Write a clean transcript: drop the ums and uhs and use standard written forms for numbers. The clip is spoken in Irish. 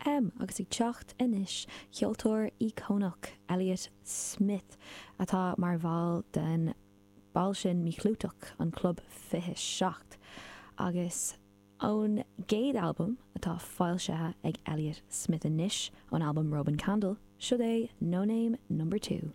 FM agus ag teacht anois, ceoltóir íocónach Elliott Smith, atá mar bhall den ball sin míchlúiteach, an Club 27. Agus ón gcéad albam atá foilsithe ag Elliott Smith anois, ón albam Roman Candle, siod é No Name Number 2.